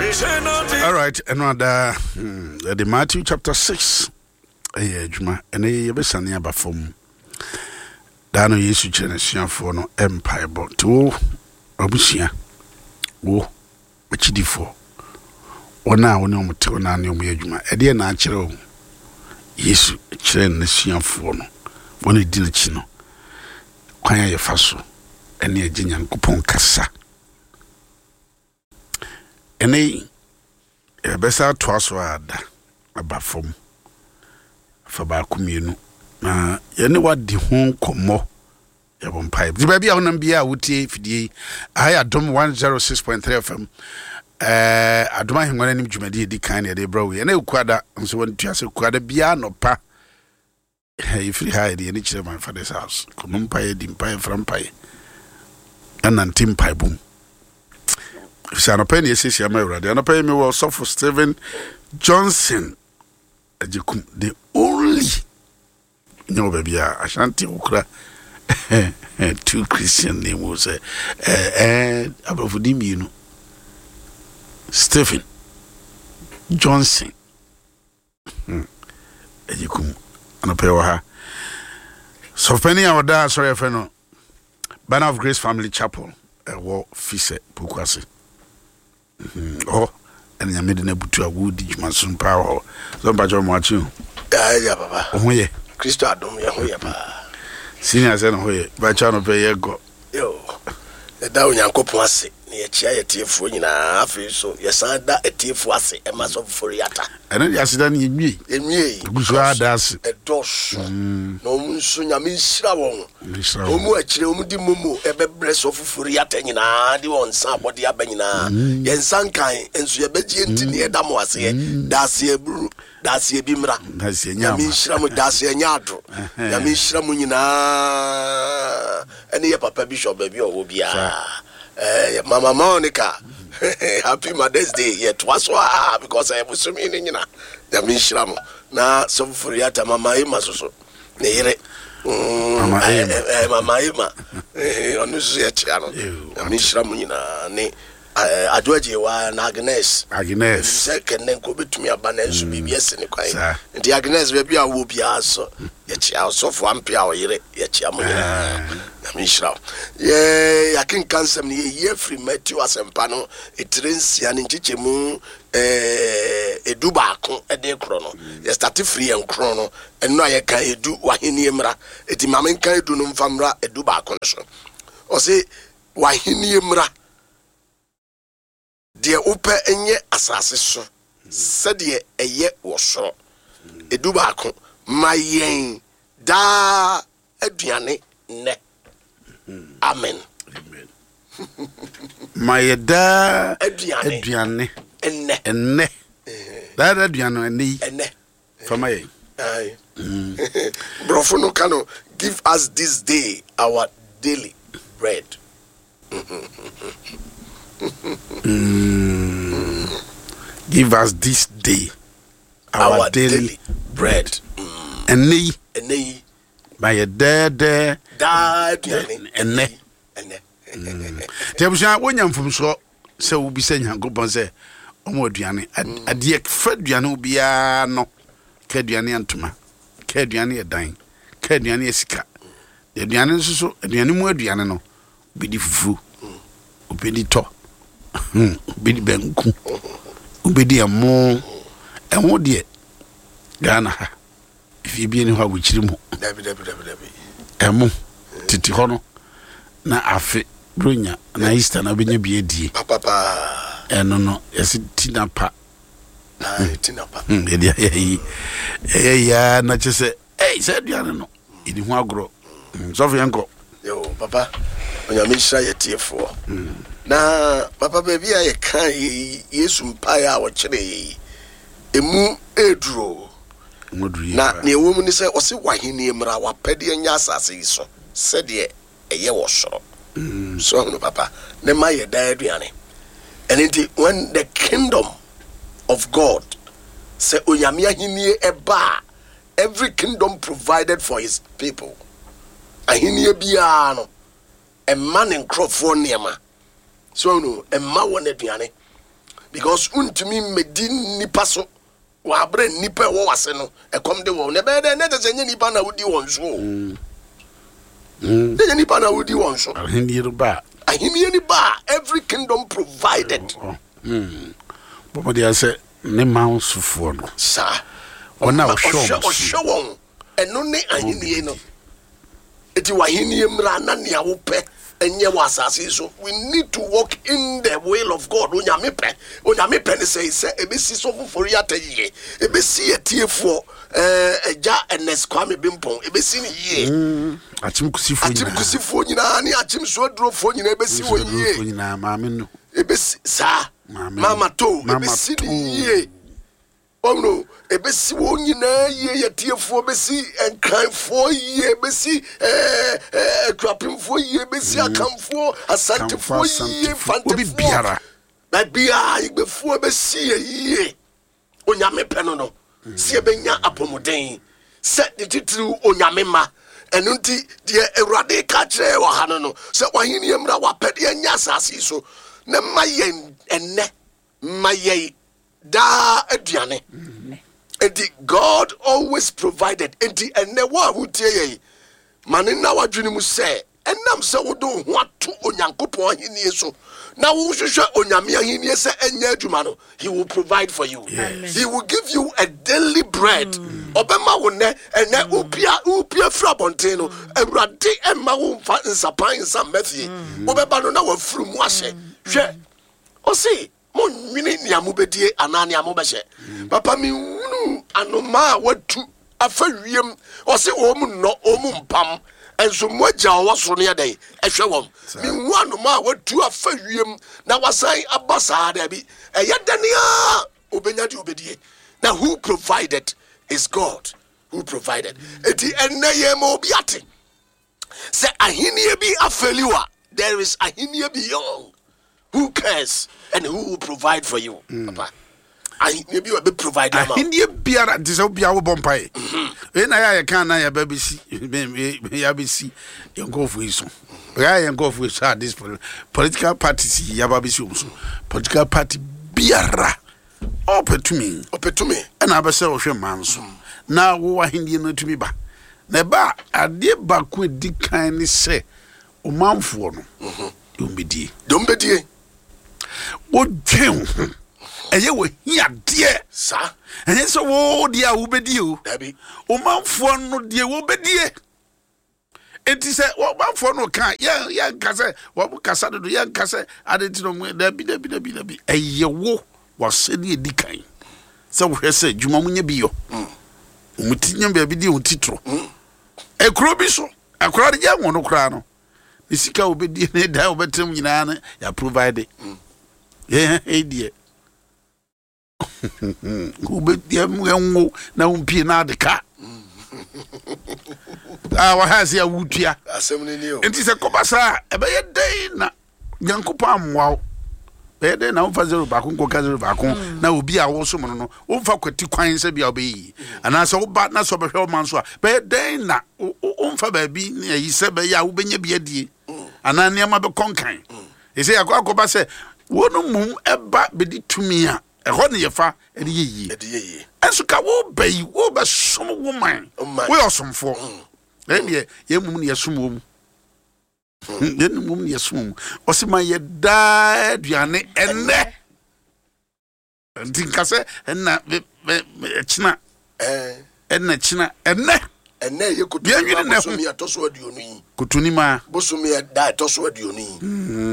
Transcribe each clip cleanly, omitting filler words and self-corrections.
All right, ɛno ada yɛde Matthew chapter 6 ɛyɛ adwuma. Ɛnɛ yɛbɛsane aba fam. Daa no Yesu kyerɛ n'asuafoɔ no mpaebɔ. Nti wo abusua, wo akyidifoɔ, wɔn a wo ne wɔn te, wɔn a ne wɔn yɛ adwuma, ɛdeɛ na akyerɛ wo Yesu kyerɛ n'asuafoɔ no, wɔn a ɛdi n'akyi no, kwan a yɛfa so ɛne agye Nyankopɔn kasa. Ɛnɛ yi, yɛbɛsa atoa so ada aba fam afa baako mmienu na yɛne wadi ho nkɔmmɔ. Yɛbɔ mpaeɛ. Nti baabi a wonam biara a wotie fidie yi, aha yɛ Adom 106.3 FM. Ɛɛ Adom Ahengua no anim dwumadi a ɛdi kan na yɛde brɛ wo yi. Ɛnɛ Kuada nso wɔntua sɛ Kuada biara nɔpa yɛfiri ha yɛde yɛne kyerɛ my father's house. Kɔmɔ mpaeɛ, di mpaeɛ, fra mpaeɛ, ɛnante mpaebɔ mu. Efisɛ anɔpa yi na yɛsiesie ama Awurade. Anɔpa yi mewɔ ɔsɔfo Stephen Johnson Agyekum, the only nyɛ wɔ baabi a Ashanti wokura two Christian name wo sɛ ɛɛ aborɔfo din mmienu Stephen Johnson Agyekum anɔpa yi wɔ ha. Sɔfopɛni a ɔda asɔre yɛfrɛ no Banner of Grace Family Chapel ɛwɔ Fisɛ Pokuase. Hɔ ɛna Nyame de no abutu a wodi dwuma som paa wɔ hɔ. Sɛ mpakyɛ ɔmo akye o. Yaa papa. Wo ho yɛ? Kristo adom yɛ ho yɛ paa. Senior sɛ ne ho yɛ. Mpakyɛ anɔpɛ yɛ gɔ. Yo, yɛda Onyankopɔn ase na yɛkyia yɛ tiefoɔ nyinaa. Afei nso yɛsan da atiefoɔ ase ɛma Sɔfo Fori-Atta. Ɛno deɛ aseda no yɛnwie. Yɛnwie. Yɛgu so ara da ase. Ɛdɔɔso. Na wɔn nso Nyame nhyira wɔn. Wɔn mu akyire wɔn de momo ɛbɛbrɛ Sɔfo Fori-Atta nyinaa de wɔn nsa abɔde aba nyinaa. Yɛn nsa nkan nso yɛbɛgye nti ne yɛda mo aseɛ. Daaseɛ buru, daaseɛ bi mmra. Nyame nhyira mo, daaseɛ nyɛ ado. Nyame nhyira mo nyinaa. Ɛne yɛ papa Bishop baabi a ɔwɔ biara. Eh, Mama Monica, happy Mother's Day. Yɛtoa so a because ɛyɛ bosome no nyina. Nyame nhyira mo. Na Sɔfo Fori-Atta, Mama Emma soso, ne yere. Mama Emma. Mama Emma. Ɔno nso yɛkyea no. Nyame nhyira mo nyinaa ne Adwo Agyewa na Agnes. Agnes. Sɛ kɛnɛ nka obetumi aba nanso biribi asi ne kwan. Nti Agnes baabi a wowɔ biara so yɛkyea ɔsɔfo Ampe a ɔyere yɛkyea mo nyinaa. Nyame nhyira wo. Yɛ yɛakenka nsɛm no yɛyi afiri Matthew asɛmpa no etire nsia ne nkyekyɛmu 11 de korɔ no. Yɛstate firi yɛn korɔ no ɛno a yɛka edu w'ahennie mmra. Eti ma menka edu no mfa mmra 11 no so. Ɔse w'ahennie mmra. Deɛ wopɛ nyɛ asase so sɛdeɛ ɛyɛ wɔ soro. 11, Ma yɛn daa aduane nnɛ. Amen. Ma yɛ daa aduane nnɛ. Nnɛ. Daa aduane ɛnnɛ yi. Ɛnnɛ. Fa ma yɛn. Borɔfo no ka no, give us this day our daily bread. Give us this day our, our daily, daily bread. Ɛnnɛ yi. Ɛnnɛ yi. Ma yɛ dɛɛdɛɛ. Daa aduane. Ɛnnɛ. Ɛnnɛ. Nti abusua wonya mfomsoɔ sɛ wobisa Nyankopɔn sɛ ɔmo aduane. Adeɛ fa aduane ho biara no, ka aduane yɛ ntoma, ka aduane yɛ dan, ka aduane yɛ sika. Aduane nso so, aduane mu aduane no, wobɛdi fufuo, wobɛdi tɔ, wobɛdi banku, wobɛdi ɛmo. Ɛmo deɛ, Ghana ha, efie bi ni hɔ a wɔkyiri mu. Ɛmo, tete hɔ no, na afe bronya na Easter na wobɛnya bi adie. Ɛno no, yɛse tinapa. Yɛde ayɛ yi, ɛyɛ yi na kyɛ sɛ, ei, sɛ aduane no. Yɛdi ho agorɔ. Sɔfo yɛn kɔ. Yo, papa, Onyame nhyira yɛ tiefoɔ. Na papa baabi a yɛka yɛ Yesu mpaeɛ a ɔkyerɛ yɛ yi, emu ɛreduro. Na nea ɛwɔ mu ne sɛ ɔse w'ahennie mmra, w'apɛdeɛ nyɛ asase yi so sɛdeɛ ɛyɛ wɔ soro. So ahunu papa, ne ma yɛ daa aduane. Ɛno nti when the kingdom of God, sɛ Onyame ahennie ɛba a, Every kingdom provided for his people. Ahenni biara no, ɛma ne nkurɔfoɔ nneɛma. So no, ɛma wɔn aduane. Because wontumi mmɛdi nnipa so wɔ aberɛ nnipa ɛwɔ wase no ɛkɔm de wɔn. Na ɛbɛyɛ dɛ na ɛkyɛ sɛ ɛnyɛ nnipa na wodi wɔn so o. Ɛnyɛ nnipa na wodi wɔn so. Ahenni no ba a. Ahenni no ba a, every kingdom provided. Bɔ mmɔden sɛ ne man sofoɔ no. Saa. Wɔn a ɔhwɛ wɔn so. Ɔhwɛ wɔn. Ɛno ne ahenni no. Eti w'ahenni mmra na nea wopɛ nyɛ wɔ asase yi so. We need to walk in the will of God. Onyame pɛ. Onyame pɛ ne sɛ sɛ ebesi sɔfo Fori-Atta yie. Ebesi atiefoɔ ɛɛ Agya Ernest Kwame Bimpong. Ebesi ne yie. Mm, Akyem Kusifoɔ nyinaa. Akyem Kusifoɔ nyinaa ne Akyem Suadurofoɔ nyinaa ebesi wɔn yie. Suadurofoɔ nyinaa maame no. Ebesi saa. Mama to. Ebesi ne yie. Ɔno, ɛbɛsi wɔn nyinaa yie, yɛtiefoɔ bɛsi Nkranfoɔ yie, ɛbɛsi ɛɛ Akuapemfoɔ yie, ɛbɛsi Akanfoɔ, Asantefoɔ yie, Mfantefoɔ, baabiara Igbefoɔ ɛbɛsi yɛ yie. Onyame pɛ no no, sɛ yɛbɛnya apɔmuden, sɛ ne titiriw Onyame mma. Ɛno nti, deɛ Awurade ka kyerɛ wɔ ha no no, sɛ w'ahenni mmra, w'apɛdeɛ nyɛ asase yi so, na ma yɛn ɛnnɛ, ma yɛn daa aduane. Enti God always provided. Enti ɛnnɛ wo a wotie yɛn, ma ne nna w'adwene mu sɛ ɛnam sɛ wode wo ho ato Onyankopɔn ahenni so na wohwehwɛ Onyame ahenni sɛ ɛnyɛ adwuma no, he will provide for you. Yes. He will give you a daily bread. Ɔbɛma wo nnɛ, ɛnnɛ wopia wopia firi abɔnten no, Awurade ɛmma wo mfa nsapan nsa mma fie. Wobɛba no na wafiri mu ahyɛ. Hwɛ, ɔse Monnwene nea mobɛdie anaa nea mobɛhyɛ. Papa, menhunuu anomaa a watu afa wiem. Ɔse wɔn nnɔ, wɔn mpam, nso mo agya a ɔwɔ soro no yɛ dɛn? Ɛhwɛ wɔn. Menhu anomaa a watu afa wiem na wasan aba saa, daabi. Ɛyɛ dɛn a obɛnya deɛ obɛdie? Na who provided is God who provided. Enti ɛnnɛ yɛn ma obi ate sɛ ahenni bi afeli wa, there is ahenni beyond. Who cares and who will provide for you? Papa. Ahenni bi wɔ bɛ provide ama. Ahenni biara nti sɛ obiara wobɔ mpae. Wei na yɛ a yɛka na yɛba bɛsi yɛabɛsi yɛn nkurɔfoɔ yi so. Yɛ yɛn nkurɔfoɔ yi so a this political parties yi yɛaba bɛsi wɔn so. Political party biara ɔpɛ tumi. Ɔpɛ tumi. Ɛna abɛsɛ ɔhwɛ mmaa nso. Na wo ahenni no atumi ba. Na ɛba a adeɛ baako a ɛdi kan ne sɛ ɔmanfoɔ no deɛ ɔmbɛdie. Deɛ ɔmbɛdie. Wodwen wo ho. Ɛyɛ wɔ hiadeɛ. Saa. Ɛnyɛ sɛ wo deɛ a wobɛdie o. Dabi. Ɔmanfoɔ no deɛ wɔbɛdie. Enti sɛ ɔmanfoɔ no ka yɛn yɛnka sɛ wɔn kasa dodo yɛnka sɛ ade nti na wɔn dabi dabi dabi dabi ɛyɛ wo wasɛdeɛ di kan sɛ wohwɛ sɛ adwuma mo nyɛ bi yɔ. Wɔn ti nyɛ baabi di wɔn ti toro. Ekuro bi so akwadaa no gya wɔn no koraa no ne sika a wɔbɛdi ne dan a wɔbɛtena mu nyinaa no yɛ provide. Yɛn ha yi deɛ wobɛdi ɛnwo na wompie na ade ka a wɔha ase a wotua. Asɛm no ni o. Nti sɛ kɔba saa a ɛbɛyɛ dɛn na Nyankopɔn ammoa wo? Bɛyɛ dɛn na womfa zero baako nkɔka zero baako mm. na obi a wosom no no womfa kwati kwan sɛ bia wobɛyɛ yi anaasɛ woba na sɛ ɔbɛhwɛ wo ma nso a bɛyɛ dɛn na womfa baabi ne ayi sɛ bɛyɛ a wobɛnya bi adie anaa nneɛma bɛkɔ nkan ɛsɛ yɛakɔ akɔba sɛ wɔn mmom ɛba bɛdi tumi a ɛhɔ ne yɛfa ɛde yɛ yie ɛnso ka wobɛ yi wobɛsom wo man woyɛ ɔsomfoɔ ɛndeɛ yɛn mmom ne yɛsom wɔ mu Yɛn mmom ne yɛsom mu. Ɔse ma yɛ daa aduane ɛnnɛ. Nti nka sɛ ɛna ɛkyena ɛna kyena ɛnnɛ. Ɛnnɛ yɛ Yɛnwene nnɛ ho. bosome ɛtɔ so aduonu yi. Kotoni maa. Bosome ɛda ɛtɔ so aduonu yi.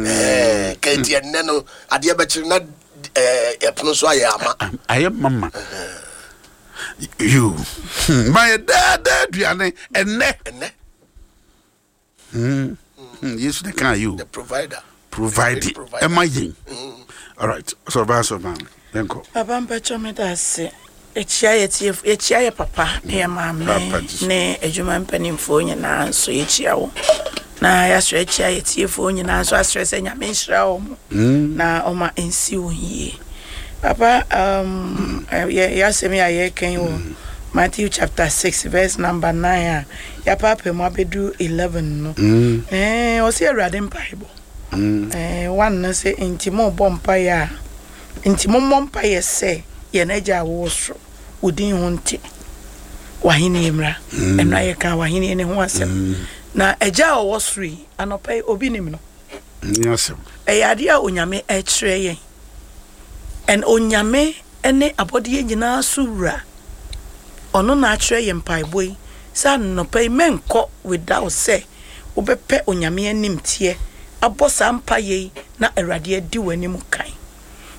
Ɛɛ kɛnti ɛnnɛ no adeɛ bɛkyere na ɛɛ ɛpono so ayɛ ama. Ayɛ mama. Yoo. Ma yɛ daa daa aduane ɛnnɛ. Ɛnnɛ. Hmm. Hmm, Yesu na kan yi o. The provider. Provide ɛma yɛn. All right. Sɔrɔ sɔrɔ yɛn kɔ. Papa mpatsɔ mi da ase. Yɛkyia yɛ tie yɛkyia yɛ papa ne yɛ maame ne adwuma mpanimfoɔ nyinaa nso yɛkyia wo na yɛasrɛ akyia yɛ tiefoɔ nyinaa nso asrɛ sɛ Nyame nhyira wɔn na ɔma nsi wɔn yie. Papa um, yɛ yɛasɛm yi a yɛreka yi wɔ Matthew chapter 6 verse number 9 a yɛapaapaa mu abɛdu 11 no. Ɛɛ ɔsɛ Awurade mpaebɔ. Ɛɛ one no sɛ nti mo bɔ mpaeɛ a Nti mommɔ mpaeɛ sɛ, Yɛn Agya a wowɔ soro, wo din ho nte, w'ahennie mmra. Ɛno a yɛkaa w'ahennie no ho asɛm. Na Agya a ɔwɔ soro yi, anɔpa yi, obi nim no? Ɛyɛ adeɛ a Onyame ɛkyerɛ yɛn. And Onyame ne abɔdeɛ nyinaa so wura. Ɔno na akyerɛ yɛn mpaebɔ yi sɛ anɔpa yi mɛnkɔ without sɛ wobɛpɛ Onyame animteɛ abɔ saa mpaeɛ yi na Awurade adi w'anim kan.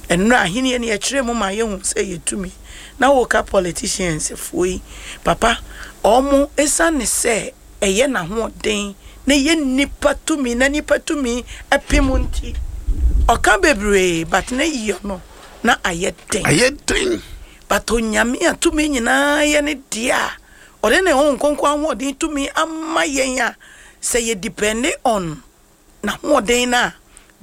Ɛnora ahennie no yɛkyerɛɛ mu ma yɛhu sɛ ɛyɛ tumi. Na woka politicians foɔ yi papa ɔmo ɛsiane sɛ ɛyɛ n'ahoɔden na ɛyɛ nnipa tumi na nnipa tumi pem nti ɔka bebree but ne yɔ no na ayɛ den. Ayɛ den. But Onyame a tumi nyinaa yɛ ne deɛ a ɔde ne Honhom Kronkron ahoɔden tumi ama yɛn a sɛ yɛ depende on n'ahoɔden no a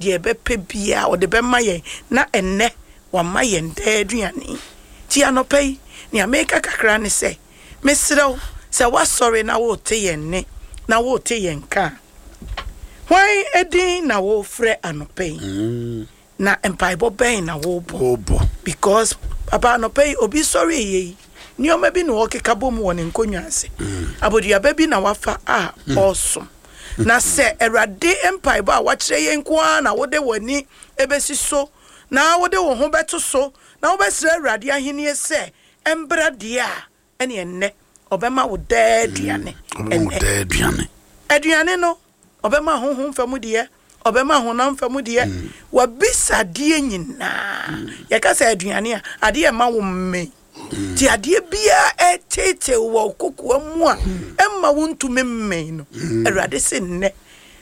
deɛ yɛbɛpɛ biara ɔde bɛma yɛn na ɛnnɛ wama yɛn daa aduane. Nti anɔpa yi nea meka kakra ne sɛ Mesrɛ wo, sɛ woasɔre na worete yɛn nne na worete yɛn nka a, hwan din na worefrɛ anɔpa yi? Na mpaebɔ bɛn na worebɔ? Because papa anɔpa yi obi sɔre yɛ yi, nneɛma bi na ɔrekeka bom wɔ ne nkonnwa ase. Aboduaba bi na wafa a ɔresom. Na sɛ Awurade mpaebɔ a wakyerɛ yɛn nko ara na wode w'ani bɛsi so na wode wo ho bɛto so na wobɛsrɛ Awurade ahennie sɛ Ɛmbra deɛ a, ɛne ɛnnɛ ɔbɛma wo daa aduane. Ɔbɛma wo daa aduane. Aduane no, ɔbɛma honhom fam deɛ, ɔbɛma honam fam deɛ, w'abisadeɛ nyinaa. Yɛka sɛ aduane a, adeɛ ɛma wo mmee. Nti adeɛ biara ɛreteetee wo wɔ wo kokoa mu a ɛmma wontumi mmee no, Awurade se nnɛ,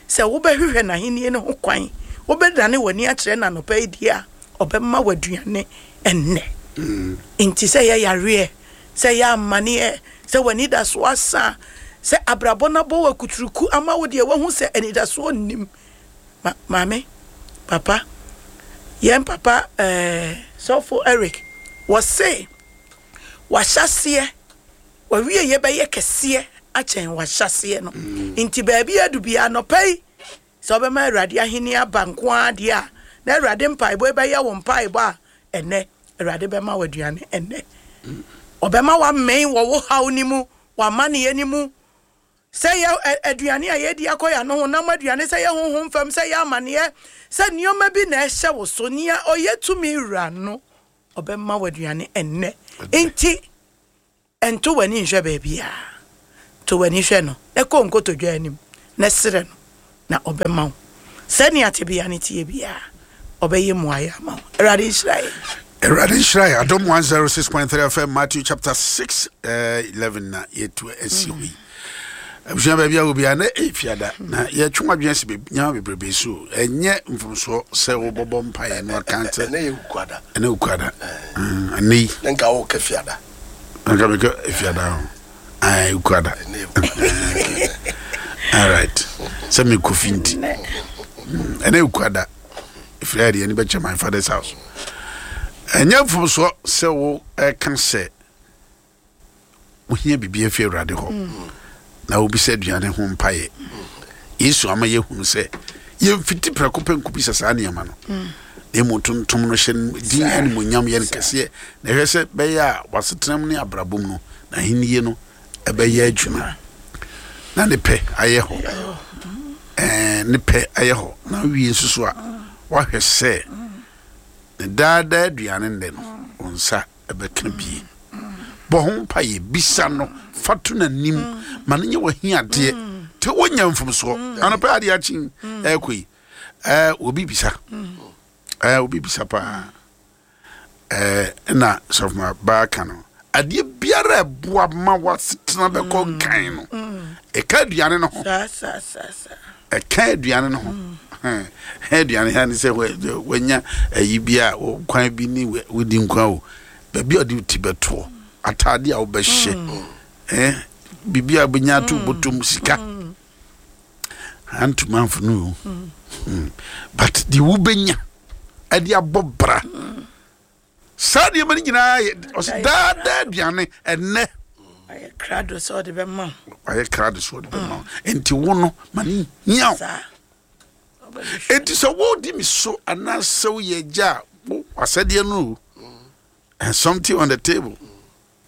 sɛ wobɛhwehwɛ n'ahennie no ho kwan, wobɛdane w'ani akyerɛ no anɔpa yi deɛ a, ɔbɛma wo aduane ɛnnɛ. Nti sɛ ɛyɛ yareɛ, sɛ ɛyɛ amaneɛ, sɛ w'anidasoɔ asa, sɛ abrabɔ no abɔ wo akuturuku ama wo deɛ woahu sɛ anidasoɔ nnim. Ma, maame, papa, yɛn papa eh, sɔfo Eric, wɔse wahyɛseɛ, wawieyɛ bɛyɛ kɛseɛ akyɛn wahyɛseɛ no. Nti baabi adu biara anɔpa yi, Sɛ wobɛma Awurade ahenni aba nko ara deɛ a, na Awurade mpaebɔ yi bɛyɛ wo mpaebɔ a ɛnnɛ Awurade bɛma wo aduane ɛnnɛ. Ɔbɛma woamee wɔ wo haw no mu, w'amanneɛ no mu. Sɛ yɛ aduane a yɛdi akɔ yɛn ano, honam aduane, sɛ yɛ honhom fam, sɛ yɛ amanneɛ, sɛ nneɛma bi na ɛhyɛ wo so, nea ɔyɛ tumi wura no, ɔbɛma wo aduane ɛnnɛ. Nti, Nto w'ani nhwɛ baabiara. To w'ani hwɛ no, na kɔ nkotodwe anim, na srɛ no, na ɔbɛma wo. Sɛnea tebea no teɛ biara, ɔbɛyɛ mmuaeɛ ama wo. Awurade nhyira yɛn. Awurade nhyira yɛn. Adom 106.3 FM, Matthew chapter 6, 11 na yɛtu asi hɔ yi. Abusua baabi a obiara na ɛyɛ fiada na yɛtwe wadwene asi nneɛma bebrebe so. Ɛnyɛ mfomsoɔ sɛ wobɔbɔ mpaeɛ no aka sɛ ɛnɛ yɛ wukuada. Ɛnɛ wukuada. Ɛnɛ yi. Ne nka wokɛ fiada. Nka mekɛ fiada ho. Ɛɛ wukuada. All right. Sɛ mekɔ fi nti. Ɛnɛ wukuada. Ɛfiri ayɛ deɛ ɛne bɛkyɛ my father's house. Ɛnyɛ mfomsoɔ sɛ wo ɛka sɛ wohia biribi afi Awurade hɔ na wobisa aduane ho mpaeɛ. Yesu ama yɛhunu sɛ yɛmfiti prɛko pɛ nkɔbisa saa nneɛma no, na mmom tontom no hyɛ no din animuonyam yɛ no kɛseɛ, na ɛhwɛ sɛ bɛyɛ a w'asetenam ne abrabɔ mu no n'ahennie no ɛbɛyɛ adwuma na ne pɛ ayɛ hɔ. Ɛɛ ne pɛ ayɛ hɔ na wie nso so a wahwɛ sɛ ne daadaa aduane nnɛ no wo nsa ɛbɛka bie. Bɔ ho mpaeɛ, bisa no, fa to n'anim, ma no nyɛ w'ahiadeɛ. Te wonya mfomsoɔ. Anɔpɛ adeɛ akye ɛrekɔ yi, ɛɛ obi bisa, ɛɛ obi bisa paa. Ɛɛ ɛna sɔfoma baa ka no, adeɛ biara ɛboa ma w'asetena bɛkɔ nkan no, ɛka aduane no ho. Ɛka aduane no ho. Aduane ha ne sɛ wanya ayi bi a kwan bi ne wodi nkwa o. Baabi a ɔde ti bɛtoɔ, ataade a wobɛhyɛ, eh, biribi a wobɛnya ato bɔtɔm, sika. Hand to mouth no o. But deɛ wobɛnya ɛde abɔ bra. Saa nneɛma no nyinaa yɛ ɔsɛ daadaa aduane ɛnɛ. Wayɛ krado sɛ ɔde bɛma wo. Wayɛ krado sɛ ɔde bɛma wo. Nti wo no ma ne hia wo. Enti sɛ wodi me so anaasɛ woyɛ agya a Wasɛdeɛ no o. And something on the table.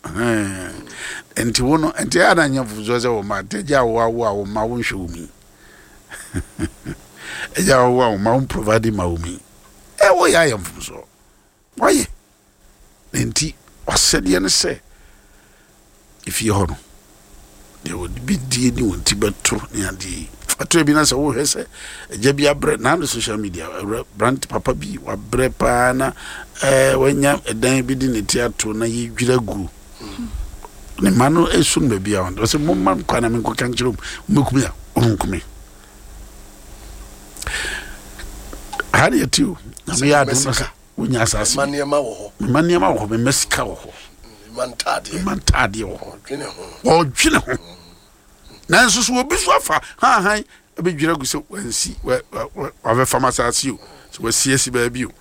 Nti wo no, nti ɛyɛ na nyɛ mfomsoɔ sɛ wo mma, nti agya a woawo a wo mma wonhwɛ wo mu yi. Agya a woawo a wo mma wo provide ma wo mu yi. Ɛ woyɛ ayɛ mfomsoɔ. Wayɛ. Na nti wasɛdeɛ ne sɛ efie hɔ no deɛ wɔde bɛdie ne wɔn ti bɛto ne adeɛ yi ɛtɔ bi na sɛ wohwɛ sɛ agya bi abrɛ na ne social media awura brant papa bi wabrɛ paa na ɛɛ wanya ɛdan bi de ne ti ato na yɛdwira gu ne mma no esu no baabi a wɔn ɔsɛ mo mma nkwa na menkɔka nkyerɛ mu mɛkumi a wɔn nkumi ha deɛ ti o na meyɛ adom no sɛ wonya asase bi. Mema nneɛma wɔ hɔ. Mema nneɛma wɔ hɔ. Mema sika wɔ hɔ. Mema ntaadeɛ. Mema ntaadeɛ wɔ hɔ. Ɔdwene ho. Ɔdwene ho. Nanso so obi so afa hanhan abɛdwira gu sɛ wansi wabɛfam asase o sɛ wasiasi baabi o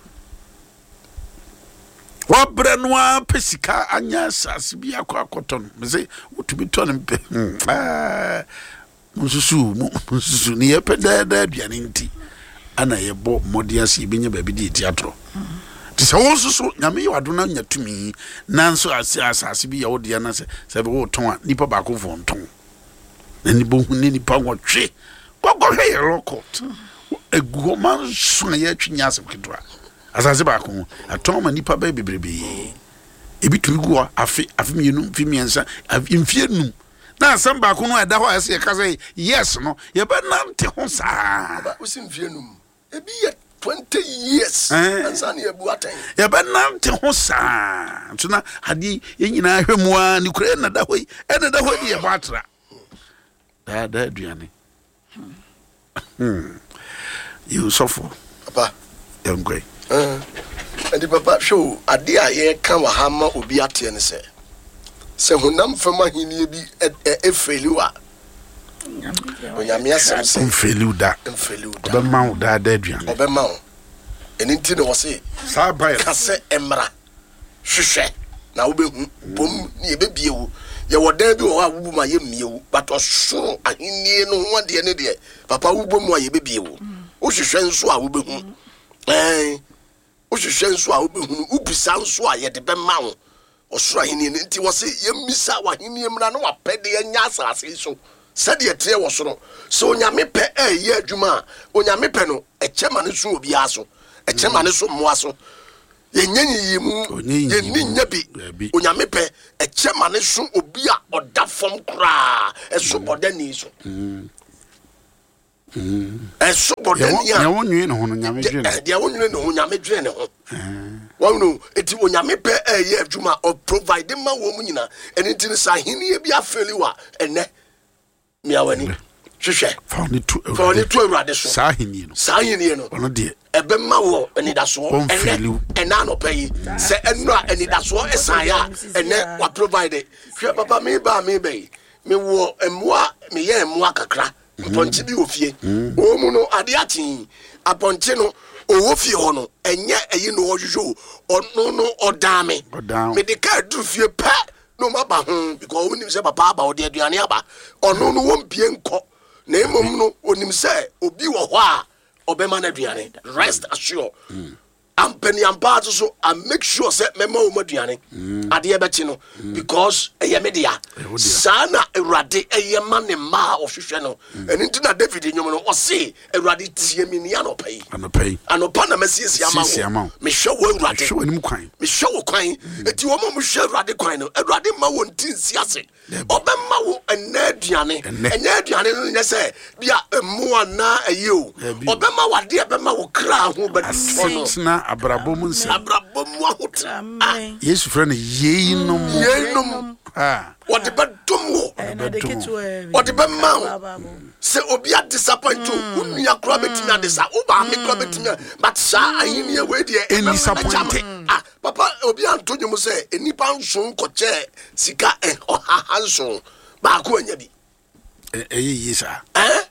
wabrɛ no ara pɛ sika anya asase bi akɔ akɔtɔ no mese wotumi tɔ no mpɛ hmm, ah. Monsusuw, monsusuw, ne yɛpɛ daa daa aduane nti ana yɛbɔ mmɔden ase yɛbɛnya baabi de yɛti atorɔ. Nti sɛ wo nso so Nyame yɛ w'adom na nya tumi nanso ase asase bi yɛ wo dea na sɛ sɛ wotɔn a nipa baako fo ntɔn na ne bɔhu ne nipa nwɔtwe kɔkɔhwɛ yɛ law court egu hɔ ma nso a yɛtwe nyɛ asɛm ketewa asase baako ho atɔn ma nipa bɛyɛ bebrebe ebi tumi gu hɔ afe afe mmienu mfe mmiɛnsa mfie num Na asɛm baako no a ɛda hɔ a ɛsɛ yɛka sɛ yes no, yɛbɛnante ho saa. Aba wosi mfie num, ebi yɛ 20 years ansa na yɛbu atɛn. Yɛbɛnante ho saa. Nso na adeɛ yɛn nyinaa hwɛ mu ara ne kura ɛna da hɔ yi, ɛna da hɔ yi de yɛbɔ atra. Daa daa aduane. Hmm. Yɛn sɔfo. Papa. Yɛn kɔ yi. Ɛnti papa hwɛ o, adeɛ a yɛreka wɔ ha ma obi ateɛ ne sɛ, sɛ honam fam ahennie bi ɛfeeli wo a, Onyame asɛm sɛ ɔmfeeli wo da. Ɔmfeeli wo da. Ɔbɛma wo daa daa aduane. Ɔbɛma wo. Ɛno nti na wɔse saa baeɛ ka sɛ mmra. Hwehwɛ na wobɛhu, bom ne yɛbɛbie wo. Yɛwɔ dan bi wɔ hɔ a wobu mu a yɛmmie wo, but ɔsoro ahennie no ho adeɛ ne deɛ, papa wobɔ mu a yɛbɛbie wo. Wohwehwɛ nso a wobɛhu. Ɛn, wohwehwɛ nso a wobɛhunu, wobisa nso a yɛde bɛma wo. Ɔsoro ahennie no nti wɔse yɛmmisa w'ahennie mmra na w'apɛdeɛ nyɛ asase yi so sɛdeɛ ɛteɛ wɔ soro. Sɛ Onyame pɛ ɛreyɛ adwuma a, Onyame pɛ no ɛkyɛ ma no so obiara so, ɛkyɛ ma no so mmoa so. Yɛnyɛ nyiyimu, yɛnni nyɛ bi. Onyame pɛ, ɛkyɛ ma ne so obi a ɔda fam koraa, ɛso bɔdani so. Ɛso bɔdani a. Deɛ wonwene ne ho no, Nyame dwene ne ho. Deɛ wonwene ne ho, Nyame dwene ne ho. Wɔn no, eti Onyame pɛ ɛyɛ adwuma, ɔprovide ma wɔn nyinaa. Ɛno nti no, sɛ ahenni bi afeli wa ɛnɛ, Mia w'ani hwehwɛ. Fa w'ani to Fa w'ani to Awurade so. Saa ahenni no. Saa ahenni no. Ɔno deɛ. Ɛbɛma wɔ anidasoɔ. Ɔmfeeli wo. Ɛnɛ anɔpa yi sɛ ɛno a anidasoɔ ɛsan yɛ a ɛnɛ wa provide. Hwɛ papa mi ba mi bɛ yi mi wɔ mmoa mi yɛ mmoa kakra. Mpɔnkye bi wɔ fie. Wɔn mu no adeɛ akye apɔnkye no ɔwɔ fie hɔ no ɛnyɛ ɛyi na ɔhwehwɛ o ɔno no ɔdan mi. Mede kaa duru fie pɛ. na wɔn aba ho because wɔn nim sɛ papa aba ɔde aduane aba ɔno no wɔn bie nkɔ na mmom no onim sɛ obi wɔ hɔ a ɔbɛma no aduane rest assured mm. ampaniampa nso so i make sure sɛ mɛma wɔn aduane mm. adeɛ bɛkye no mm. because ɛyɛ me dea saa na awurade ɛyɛ ma ne mma a ɔhwehwɛ no ɛno nti na david nnwom no ɔse Awurade tie me ni anɔpa yi. Anɔpa yi. Anɔpa na masiesie ama wo. Mehwɛ wo Awurade. Mehwɛ w'anim kwan. Mehwɛ wo kwan. Mm. Eti wɔn a wɔhwɛ Awurade kwan no, Awurade mma wɔn ti nsi ase. Ɔbɛma wo ɛnɛ aduane. Ɛnɛ aduane no nyɛ sɛ bi a mmoa na ɛyɛ o. Ɔbɛma wo adeɛ ɛbɛma wo kra ho bɛtɔ no. Asetena abrabɔ mu nsɛm. Abrabɔ mu ahotena. Ah. Yesu frɛ no yeinom. Yeinom. Ah. Wɔde bɛdom wo. Wɔde bɛma wo. Sɛ obi a disappoint wo, wo nua koraa bɛtumi adisa, wo maame koraa bɛtumi a, but saa ahenni wei deɛ ɛnnisappointe. Ah, papa, obi anto nnwom sɛ nnipa nson kɔkyɛɛ sika ɔhaha nson, baako anya bi. Ɛyɛ yie saa. Eh?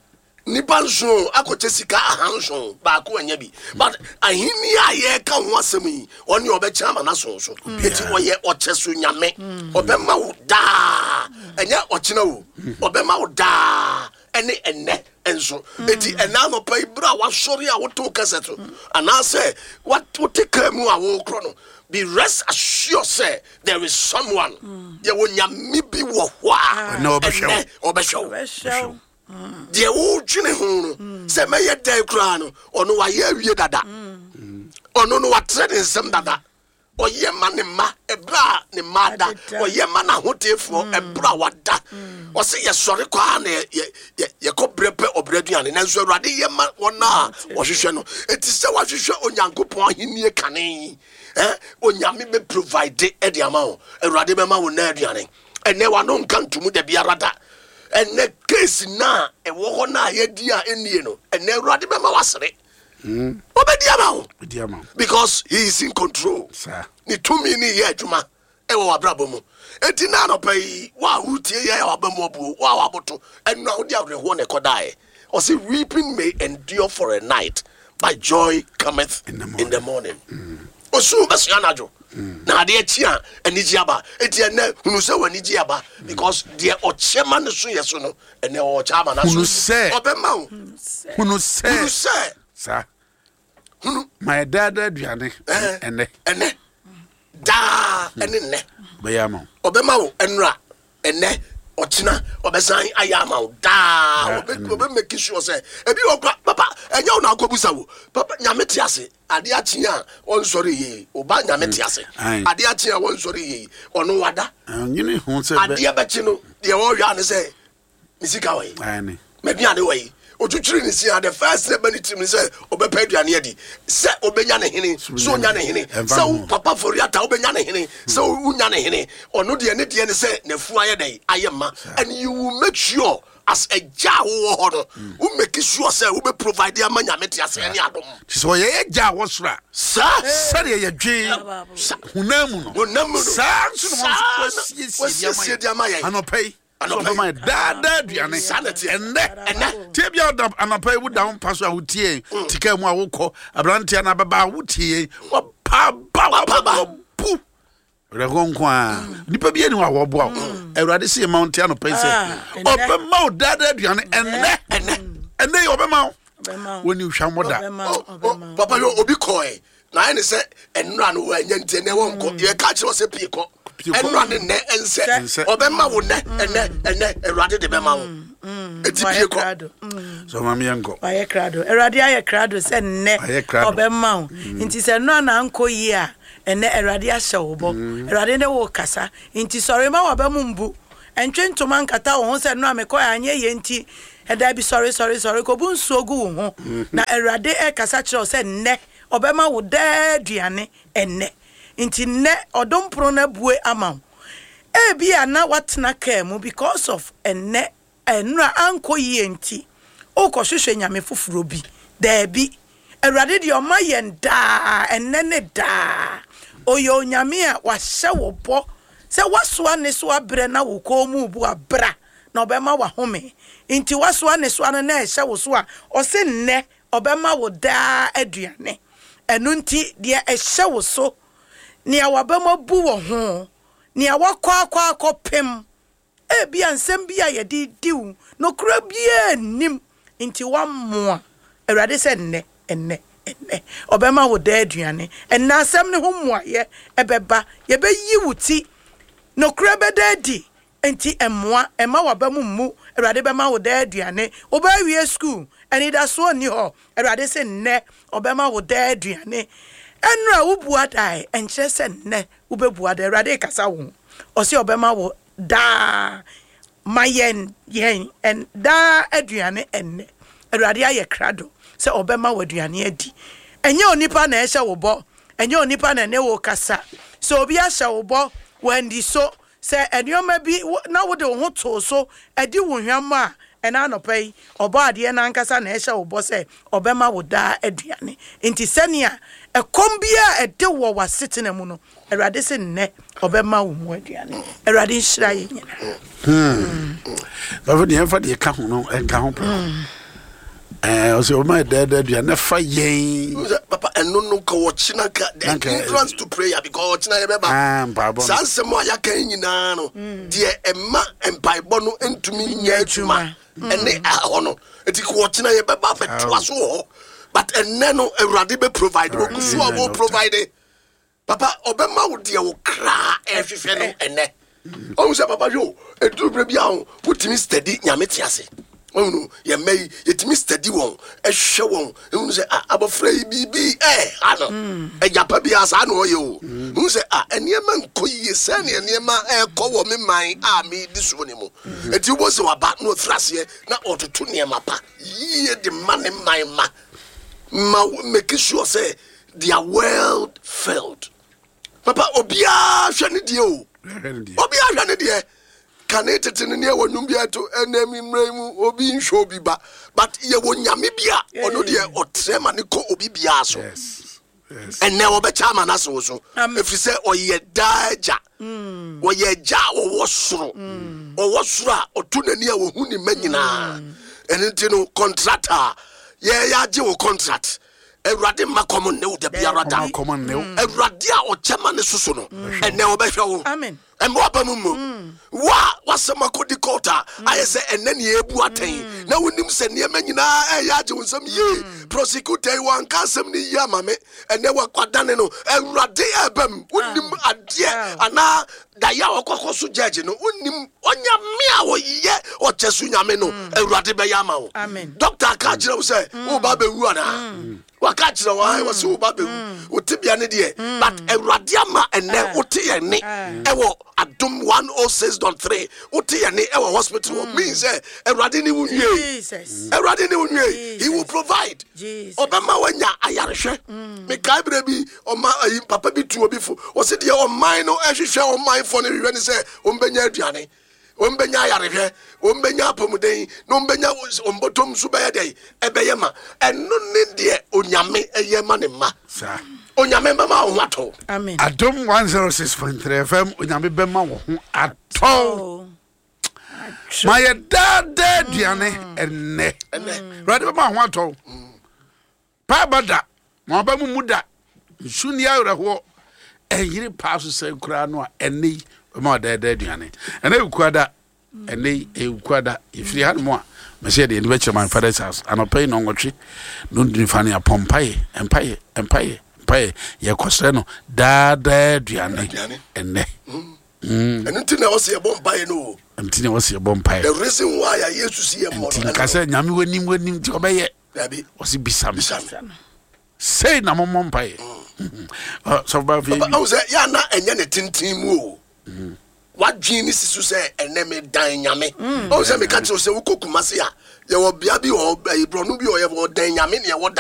Nnipa nson akɔkyɛ sika ahanson, baako anya bi. But ahenni a yɛreka ho asɛm yi, ɔne ɔbɛkyɛ ama n'ason so. Eti ɔyɛ ɔkyɛ so nyame. Ɔbɛma wo daa. Ɛnyɛ ɔkyena o. Ɔbɛma wo daa. ɛne ɛnnɛ nso. Eti ɛnɛ anɔpa yi bere a wasɔre a wotew kɛsɛ so anaasɛ wote kaa mu a wokorɔ no, be rest assured sɛ there is someone, yɛwɔ Nyame bi wɔ hɔ a Ɛnnɛ ɔbɛhwɛ wo. ɛnnɛ ɔbɛhwɛ wo. Deɛ wodwene ho no sɛ mɛyɛ dɛn koraa no, ɔno wayɛ awie dada. Ɔno no watrɛ ne nsɛm dada. Ɔyɛ ma ne mma ɛberɛ a ne mma ada. Ɔyɛ ma n'ahoteefoɔ ɛberɛ a wada. Ɔse yɛsɔre kɔ a na yɛkɔ berɛ pɛ ɔbrɛ aduane, nanso Awurade yɛ ma wɔn a wɔhwehwɛ no. Enti sɛ woahwehwɛ Onyankopɔn ahennie kane yi, Onyame bɛ provide de ama wo. Awurade bɛma wo nnɛ aduane. Ɛnɛ wano nka ntomu da biara da. Ɛnɛ case na ɛwɔ hɔ na yɛdi a ɛnnie no, ɛnɛ Awurade bɛma wasere. Ɔbɛdi ama wo because he is in control. Ne tumi ne yɛ adwuma ɛwɔ w'abrabɔ mu. Eti na anɔpa yi wo a wotie yɛ a waba mu abuo, wo a waboto, ɛno a wode awerɛhoɔ na ɛkɔdaeɛ. Ɔse weeping may endure for a night, but joy cometh in the morning. Osu bɛsoa anadwo na adeɛ kyi a anigye aba. Eti ɛnɛ hunu sɛ w'anigye aba because deɛ ɔkyɛ ma ne so yɛ so no, ɛnɛ ɔkyɛ ama n'aso. Hunu sɛ ɔbɛma wo. Hunu sɛ. Hunu sɛ. Saa. Hunu. Ma yɛ daadaa aduane ɛnɛ. Ɛnɛ. Daa ɛne nnɛ. Ɔbɛyɛ ama wo. Ɔbɛma wo ɛnora, ɛnɛ, ɔkyena ɔbɛsan ayɛ ama wo daa. Ɔbɛ make sure sɛ ebi wɔ kora papa ɛnyɛ wo na akɔbusa wo papa. Nyame te ase, adeɛ akye a ɔnsɔre yie. Ɔba Nyame te ase, adeɛ akye a wɔnsɔre yie, ɔno wada. Nyine ho sɛ adeɛ bɛkye no, deɛ wɔhwɛ ane sɛ ne sika wɔ yi, m'aduane wɔ yi. Otwitwiri ne si a, the first thing ɛbɛ ne tirim ne sɛ ɔbɛpɛ aduane adi. Sɛ ɔbɛnya ne hene, sɛ ɔnya ne hene, sɛ wo papa Foriata wobɛnya ne hene, sɛ wonya ne hene, ɔno deɛ ne deɛ ne sɛ n'afu ayɛ dɛn ayɛ ma. And you will make sure as agya a wowɔ hɔ no, wo make sure sɛ wobɛ provide ama Nyame te aseɛ ne adom. Nti sɛ ɔyɛ yɛ gya a wɔ soro a, saa sɛdeɛ yɛdwen honam mu no, saa nso na wɔasiesie de ama yɛn anɔpa yi. Ɔbɛma yɛ daadaa aduane ɛnnɛ. Ɛnɛ tie bia ɔda anɔpa yi, woda wo mpa so a wotie yɛn, tika mu a wokɔ, aberanteɛ no abɛba a wotie yɛn, wapaba wabu werɛhoɔ nko a nipa bi ani hɔ a wɔboa wo. Awurade sɛ yɛma wo nte anɔpa yi sɛ ɔbɛma wo daadaa aduane ɛnnɛ. Ɛnnɛ yi ɔbɛma wo, wɔni hwammɔ da. Papa yɛ obi kɔɛ na ayɛ ne sɛ ɛnora no wɔanya, nti ɛnɛ wɔnkɔ. Yɛka kyerɛ wɔ sɛ pie kɔ. Ɛnora ne nnɛ ɛnsɛ. Ɔbɛma wo nnɛ, ɛnɛ, ɛnɛ Awurade de bɛma wo, ɛti pie kɔ. So ma meɛnkɔ. Wayɛ krado, Awurade ayɛ krado sɛ nnɛ ɔbɛma wo. Nti sɛ nnora na ankɔ yie a, ɛnɛ Awurade ahyɛ wo bɔ. Awurade ne wo kasa, nti sɔre ma waba mu mbu. Ɛntwe ntoma nkata wo ho sɛ nnora mekɔ anyɛ yie nti ɛda bi. Sɔre, sɔre, sɔre kɔbu nsuo gu wo ho na Awurade ɛkasa kyerɛ wo sɛ nnɛ ɔbɛma wo daa aduane ɛnnɛ. Nti nnɛ ɔdom pono no abue ama wo. Ebi a na watena kaa mu because of ɛnnɛ nnora ankɔ yie nti wokɔhwehwɛ nyame foforɔ bi. Daabi, Awurade deɛ ɔma yɛn daa, ɛnnɛ ne daa. Ɔyɛ Onyame a wahyɛ wo bɔ sɛ woasoa ne so abrɛ na wo kɔn mu bu abra na ɔbɛma wahome. Nti woasoa ne soa no na ɛhyɛ wo so a, ɔse nnɛ ɔbɛma wo daa aduane. Ɛno nti deɛ ɛhyɛ wo so, nea waba mu abu wɔ ho, nea wakɔ akɔ akɔpem, ebia nsɛm bi a yɛde di wo nokora biara nnim nti wammoa. Awurade sɛ nnɛ, ɛnnɛ, ɛnnɛ ɔbɛma wo daa aduane. Ɛnnɛ asɛm ne ho mmuayɛ ɛbɛba, yɛbɛyi wo ti, nokora bɛda adi. Nti mmoa ɛma waba mu mmu. Awurade bɛma wo daa aduane. Wobɛawie school, anidasoɔ nni hɔ, Awurade sɛ nnɛ ɔbɛma wo daa aduane. Ɛnora wobua dae, ɛnkyerɛ sɛ nnɛ wobɛbua da. Awurade kasa wo ho, ɔsɛ ɔbɛma wo daa. Ma yɛn yɛn daa aduane ɛnnɛ. Awurade ayɛ krado sɛ ɔbɛma wo aduane adi. Ɛnyɛ onipa na ɛhyɛ wo bɔ, ɛnyɛ onipa na ɛne wo kasa. Sɛ obi ahyɛ wo bɔ wandi so, sɛ nneɛma bi na wode wo ho too so adi wo hwammɔ a, ɛna anɔpa yi ɔbɔ adeɛ no ankasa na ɛhyɛ wo bɔ sɛ ɔbɛma wo daa aduane. Nti sɛnea ɛkɔm biara ɛde wɔ w'asetena mu no, Awurade sɛ nnɛ ɔbɛma wo mu aduane. Awurade nhyira yɛ nyinaa. Bafo deɛ ɛmfa deɛ ɛka ho no ɛnka ho pɛ. Ɛɛ ɔsɛ ɔma yɛ dɛɛdɛɛ aduane na fa yɛn. Wohu sɛ, papa ɛno no nka ɔkyena ka the entrance to prayer because ɔkyena yɛbɛba. Ah, mpaebɔ no. Saa nsɛm a yɛaka yi nyinaa no, deɛ ɛma mpaebɔ no ntumi nyɛ adwuma ɛne ɛhɔ no. Nti ka ɔkyena yɛbɛba abɛtoa so wɔ hɔ. But ɛnnɛ no, Awurade bɛ provide. Ɔgu so a wɔ provide. Papa, ɔbɛma wo deɛ wo kra ɛhwehwɛ no ɛnɛ. Ɔhu sɛ papa hwɛ o, ɛduru berɛ bi a ho, wotumi steady Nyame te ase. Ɔhu no, yɛn mma yi, yɛtumi steady wɔn, ɛhwɛ wɔn, ɛhunu sɛ ah, abɔfra yi biribi ɛha no. Agya pa biara saa na ɔyɛ o. Hu sɛ ah, nneɛma nkɔ yie sɛnea nneɛma ɛrekɔ wɔ me man a medi soɔ no mu. Enti wobɛhu sɛ waba na wafiri aseɛ na ɔtoto nneɛma pa yie de ma ne man ma. Ma make sure sɛ They are well filled. Papa, obiara hwɛ ne deɛ o. Obiara hwɛ ne deɛ. Kane tete no ne ɛwɔ nnwom bi ɛto ɛnɛ mi mmerɛ mu obi nhwɛ obi ba. But yɛwɔ nyame bi a ɔno deɛ ɔtrɛ ma ne kɔ obi biara so. Ɛnɛ wɔbɛkyɛ ama no ase wo so. Ɛfiri sɛ ɔyɛ daa agya. Mm. Ɔyɛ agya a ɔwɔ soro. Mm. Ɔwɔ soro a ɔto n'ani a ɔhu ne mma nyinaa. Mm. Ɛno nti no contract a yɛyɛ agye wo contract. Awurade mma kɔm nne wo da biara da. Awurade a ɔkyɛ ma ne soso no, ɛnɛ ɔbɛhwɛ wo. Ɛmma waba mu mmu. Wo a w'asɛm akɔdi court a ayɛ sɛ ɛnɛ ne yɛrebu atɛn na wonim sɛ nneɛma nyinaa ɛyɛ agye wo nsam yie. Prosecutor yi wanka asɛm no yie ama me, ɛnɛ wadane no. Awurade ɛreba mu, wonim adeɛ anaa daeɛ a ɔkɔkɔ so judge no, wonim Onyame a ɔyɛ ɔkyɛso nyame no, Awurade bɛyɛ ama wo. Doctor aka akyerɛ wo sɛ woba bɛwu anaa? Waka akyerɛ wo, ae, wɔse woba bɛwu. Wo tebea ne deɛ, but Awurade ama ɛnɛ wote yɛn ne ɛwɔ Adom 106.3, wote yɛn ne ɛwɔ hospital hɔ, mean sɛ Awurade ne wo nwie. Awurade ne wo nwie. He will provide. Ɔbɛma wanya ayarehwɛ. Mekae berɛ bi, ɔma ayi papa bi tu obi fo, ɔse deɛ ɔman no ɛhwehwɛ, ɔmanfoɔ no hwehwɛ ne sɛ wɔbɛnya aduane, wɔbɛnya ayarehwɛ, wɔbɛnya apɔmuden, na wɔbɛnya wɔn bɔtɔm nso bɛyɛ dɛn? Ɛbɛyɛ ma. Ɛno ne deɛ Onyame ɛyɛ ma ne mma. Saa. Onyame bɛma wo ho atɔ wo. Amen. Adom 106.3 FM, Onyame bɛma wo ho atɔ wo. Ma yɛ daa daa aduane ɛnnɛ. Awurade bɛma wo ho atɔ wo. Paaba da, ma w'aba mu mmu da, nsu nni awerɛhoɔ, ɛnyere paa so sɛn koraa no a, ɛnnɛ yi bɛma w'adaadaa aduane. Ɛnɛ yɛ Wukuada, ɛnnɛ yi ɛyɛ Wukuada, yɛfiri hanom a, mɛsɛ yɛde yɛn ani bɛkyerɛ my father's house. Anɔpa yi nnɔnwɔtwe, nnɔndu fa no yɛapɔ mpaeɛ, mpaeɛ, mpaeɛ, mpaeɛ, yɛkɔsrɛ no daadaa aduane ɛnnɛ. Ɛno nti na ɛwɔ sɛ yɛbɔ mpaeɛ no o. Ɛno nti na ɛwɔ sɛ yɛbɔ mpaeɛ. The reason why a Yesu si yɛ mmɔ no. Nti nka sɛ Nyame w'anim w'anim nti ɔbɛyɛ. Dabi. Ɔsi bisa me. Bisa me. Sei na mommɔ mpaeɛ. Sɔfo ba afei. Papa ahu sɛ yɛ ana ɛnyɛ ne tenten mu o. Wadwene ne si so sɛ ɛnɛ me dan Nyame. Ɔhu sɛ meka kyerɛ sɛ wokɔ Kumasi a yɛwɔ bea bi wɔ hɔ ɛyi borɔno bi wɔ yɛwɔ dan Nyame ne yɛwɔ dan.